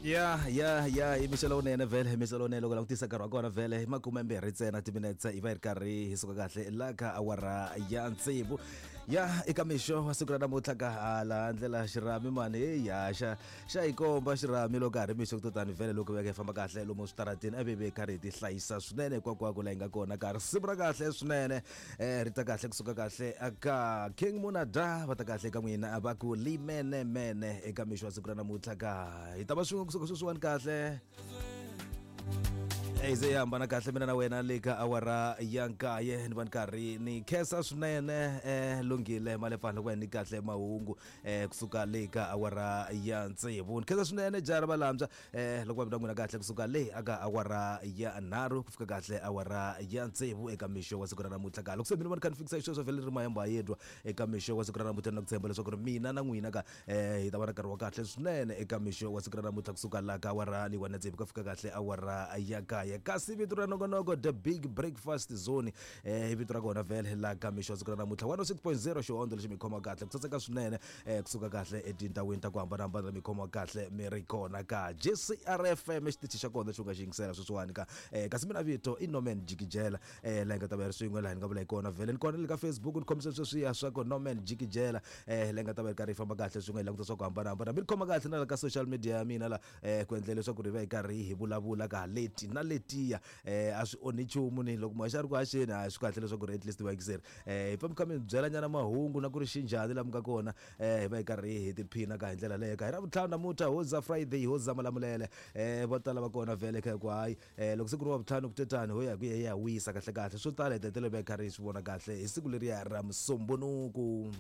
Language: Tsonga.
Ya ya ya, i mixo lowunene vhele, mixo lowunene. Loko langutisa nkarhi wa kona vhele i 20 ntsena timinetse, hi va hi ri karhi hi suka kahle la ka awara ya tsevu ya eka mixo wa siku ra namuntlha. Ka hala ndlela xirhami mani, heyi ya xa hi komba xirhami loko ka ha ri mixo to tani vhele, loko veka hi famba kahle lomu switarateni, a ve karhi hi ti hlayisa swinene hinkwako la hi nga kona. Ka risimu ra kahle swinene, ri ta kahle kusuka kahle aka King Munada, va ta kahle ka n'wina, va ku limenemene eka mixo wa siku ra namuntlha. Ka hi ta va swin'we kusuka sweswiwani kahle, hi ze hi hambana kahle mina na wena le ka awara ya 9. Ni va ni karhi ni khensa swinene Lunghile Malepfana loko va hi ni kahle mahungu kusuka le ka awara ya 6. Ni khensa swinene jara valambya loko va vita n'wina kahle kusuka le aka awara ya 3 ku fika kahle awara ya 6 eka mixo wa siku ra namuntlha. Ka loko se mina va ni kha ni fikisa xisweswo vhele ri mayemba yedwa eka mixo wa siku ra namuntlha, na ku tshemba leswaku ri mina na n'wina ka hi ta va na nkarhi wa kahle swinene eka mixo wa siku ra namuntlha kusuka la ka awara leyiwani ya 6 ku fika kahle awara ya 9. Kasi vito ra nongonoko, The Big Breakfast Zone, i vito ra kona vhele la ka mixo wa siku ra namuntlha. 106.0 xihondzo lexi mi khoma kahle ku saseka swinene, kusuka kahle etindhawini ta ku hambanahambana mi khoma kahle mi ri kona ka JCRFM, xitichi xa kona xi u nga xi yingisela sweswiwani ka. Kasi mina vito i Norman Jikijela, laha hi nga ta va hi ri swin'we laha ni nga vula hi kona vhele. Ni kona le ka Facebook, ni khomisa sweswiya swa ku Norman Jikijela, laha hi nga ta va hi karhi hi famba kahle swin'we, hi languta swa ku hambanahambana. Mi ni khoma kahle na la ka social media ya mina la, ku endlela leswaku ri va hi karhi hi vulavula ka leti na letiya. A swi onhi nchumu ni loko muhaxi a ri ku haxeni, a swi kahle leswaku ri at least vayingiseri hi pfa mi kha mi byela nyana mahungu na ku ri xinjhani laha mi nga kona. Hi va hi karhi hi tiphina ka hi ndlela leyo. Ka hi ra vutlhanu namuntlha, hoza Friday, hoza Malamulele. Vo tala va kona vhele kha hi ku hayi, loko siku ri wa vutlhanu ku tetani ho ya hi ku ya wisa kahle kahle. Swo tala hi ta hetelela va hi karhi hi swi vona kahle hi siku leriya ra Musumbunuku.